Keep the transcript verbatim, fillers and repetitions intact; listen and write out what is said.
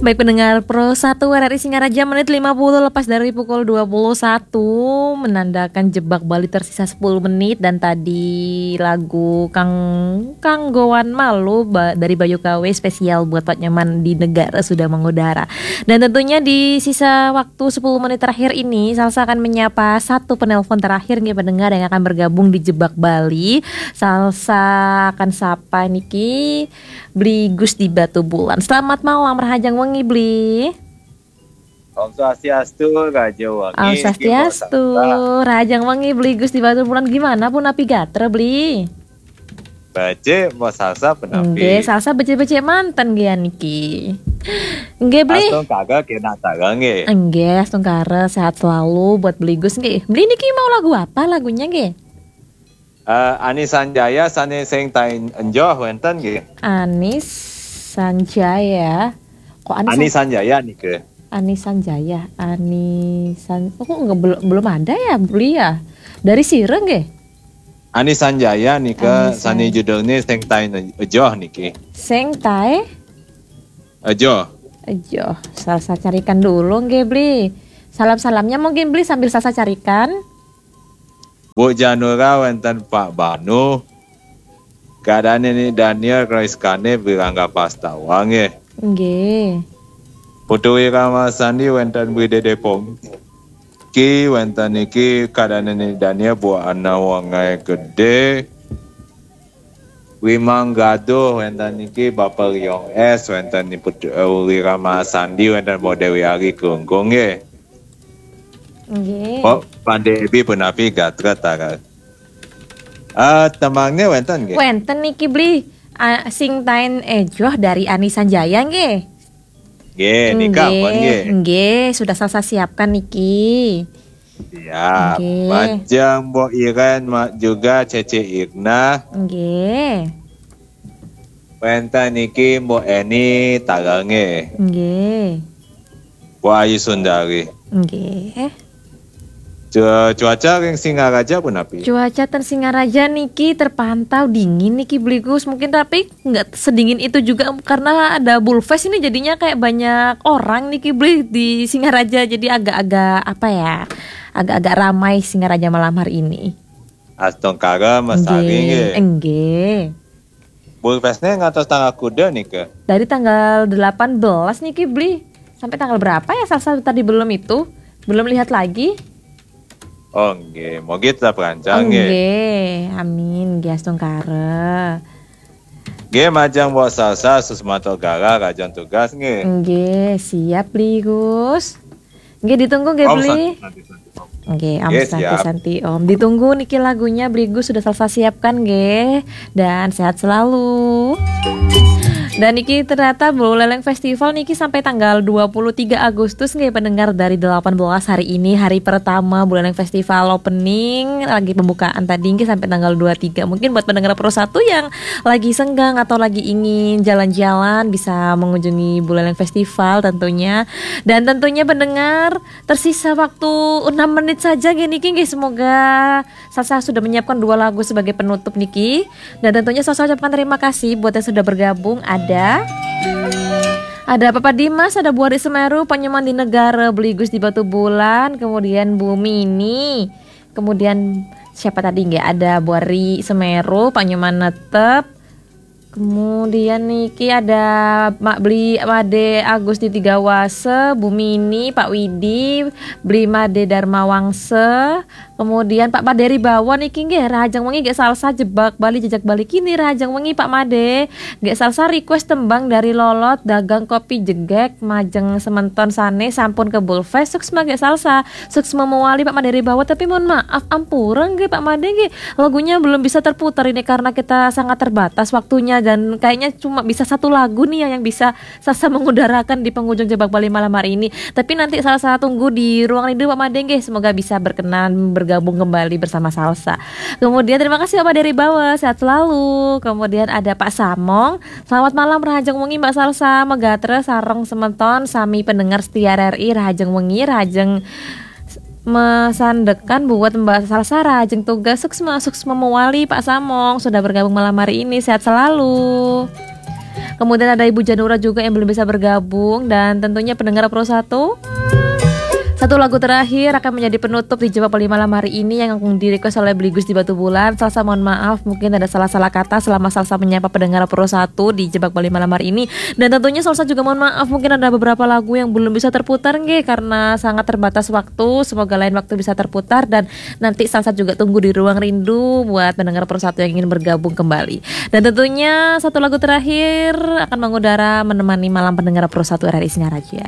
Baik pendengar Pro satu R R I Singaraja, menit lima puluh lepas dari pukul dua puluh satu, menandakan Jebak Bali tersisa sepuluh menit, dan tadi lagu Kang Kanggoan Malu ba- dari Bayu K W spesial buat Pak Nyoman di Negara sudah mengudara. Dan tentunya di sisa waktu sepuluh menit terakhir ini, Salsa akan menyapa satu penelpon terakhir nih pendengar yang akan bergabung di Jebak Bali. Salsa akan sapa niki Bli Gus di Batu Bulan. Selamat malam, rahajeng wengi, Bli. Om Swastiastu, Raja Wangi. Om Swastiastu, rahajeng wengi, Bli Gus di Batu Bulan. Gimana pun api gatra, Bli? Becik, mau Salsa penapi. Nggih, Salsa becik-becik manten nggih niki. Nggih, Bli. Astungkara kena tara nggih. Nggih, astungkara, sehat selalu buat Bli Gus nggih. Bli niki mau lagu apa lagunya nggih? Eh, Ani Sanjaya sane sing tai enjoh wenten nggih. Anis Sanjaya. Kok Anis Ani San- Sanjaya nika. Ani Sanjaya, Ani San, oh, kok nggak, belum, belum ada ya, Bli ya? Dari sira nggih? Ani Sanjaya nika Ani sane Sanjaya. Judulne sing tai enjoh niki. Sing tae Enjoh. Ayo, Salsa carikan dulu nggih, Bli. Salam-salamnya mungkin Bli sambil Salsa carikan. Bu Janura wenten Pak Banu. Kadane ni Daniel Kroiskane Birangga Pastawa nggih. Nggih. Putu Wira Masandi wenten Bri Dede Pong. Ki wenten niki kadane ni Daniel Bu Ana Wangai Gede. Wimang Gaduh wenten niki Bapak Riong S wenten ni Putu eh, Wira Masandi wenten Bu Dewi Ari Krungkung nggih. Nggih. Oh, Pande Ebi penapi gatra tara. Ah, tembangne wenten nggih. Wenten niki Bli. Ah, sing tae enjoh dari Ani Sanjaya nggih. Nggih, nika pun nggih. Nggih, sudah Salsa siapkan niki. Siap. Nggih. Majeng Mbok Iren ma- juga Cece Irna. Nggih. Wenten niki Mbok Eni tara nggih. Nggih. Mbok Ayu Sundari. Nggih. Cu- Cuaca ring Singaraja punapi? Cuaca ten Singaraja niki terpantau dingin niki Bli Gus. Mungkin tapi nggak sedingin itu juga karena ada Bulfest ini, jadinya kayak banyak orang niki Bli di Singaraja. Jadi agak-agak apa ya? Agak-agak ramai Singaraja malam hari ini. Astungkara mesari nggih. Nggih. Bulfestne ngantos tanggal kuda nika? Dari tanggal delapan belas niki Bli. Sampai tanggal berapa ya Salsa tadi belum itu? Belum lihat lagi. Oh nggih, mogi tetap rancang nggih. Nggih, amin nggih astungkara. Nggih, majeng Mbok Salsa Susmato Gara rajan tugas nggih. Nggih, siap Bli Gus. Nggih ditunggu nggih Om Bli. Santi, Santi, Santi, Om. Nggih, Om Nggih, Santi siap. Santi Om. Ditunggu niki lagunya Bli Gus sudah Salsa siapkan nggih. Dan sehat selalu. Dan niki ternyata Buleleng Festival niki sampai tanggal dua puluh tiga Agustus nggih pendengar, dari delapan belas hari ini hari pertama Buleleng Festival opening, lagi pembukaan tadi nggih sampai tanggal dua puluh tiga. Mungkin buat pendengar Pro satu yang lagi senggang atau lagi ingin jalan-jalan bisa mengunjungi Buleleng Festival tentunya. Dan tentunya pendengar, tersisa waktu enam menit saja nggih niki nggih, semoga Salsa sudah menyiapkan dua lagu sebagai penutup niki. Dan tentunya Salsa ucapkan terima kasih buat yang sudah bergabung. Ada ada Papa Dimas, ada Bu Ari Semeru, Pak Nyoman di Negara, Beli Gus di Batu Bulan, kemudian Bu Mini, kemudian siapa tadi nggih? Ada Bu Ari Semeru, Pak Nyoman Netep, kemudian niki ada Mak Beli Made Agus di Tiga Wase, Bu Mini, Pak Widi, Beli Made Dharma Wangse, kemudian Pak Maderi Bawon niki nggih, rahajeng wengi nggih Salsa Jebak Bali, Jejak Bali kini rahajeng wengi Pak Made. Nggih Salsa request tembang dari Lolot, Dagang Kopi Jegek, majeng sementon sane sampun ke Bulfest, suksma nggih Salsa, suksma mewali Pak Maderi Bawon, tapi mohon maaf ampura nggih Pak Made nggih, lagunya belum bisa terputar ini karena kita sangat terbatas waktunya dan kayaknya cuma bisa satu lagu nih yang, yang bisa Salsa mengudarakan di penghujung Jebak Bali malam hari ini. Tapi nanti Salsa tunggu di ruang rindu Pak Made nggih, semoga bisa berkenan bergabung kembali bersama Salsa. Kemudian terima kasih Pak Maderi Bawon, sehat selalu. Kemudian ada Pak Samong, selamat malam rahajeng wengi Mbak Salsa, megatra sareng sementon sami pendengar setia R R I, rahajeng wengi, rahajeng mesandekan buat Mbak Salsa, rahajeng tugas, suksma, suksma mewali Pak Samong sudah bergabung malam hari ini, sehat selalu. Kemudian ada Ibu Janura juga yang belum bisa bergabung. Dan tentunya pendengar Pro satu, satu lagu terakhir akan menjadi penutup di Jebak Bali malam hari ini yang akan di-request oleh Beli Gus di Batubulan. Salsa, mohon maaf, mungkin ada salah-salah kata selama Salsa menyapa pendengar Pro satu di Jebak Bali malam hari ini. Dan tentunya Salsa juga mohon maaf, mungkin ada beberapa lagu yang belum bisa terputar nggih, karena sangat terbatas waktu. Semoga lain waktu bisa terputar, dan nanti Salsa juga tunggu di ruang rindu buat pendengar Pro satu yang ingin bergabung kembali. Dan tentunya satu lagu terakhir akan mengudara menemani malam pendengar Pro satu R R I Singaraja.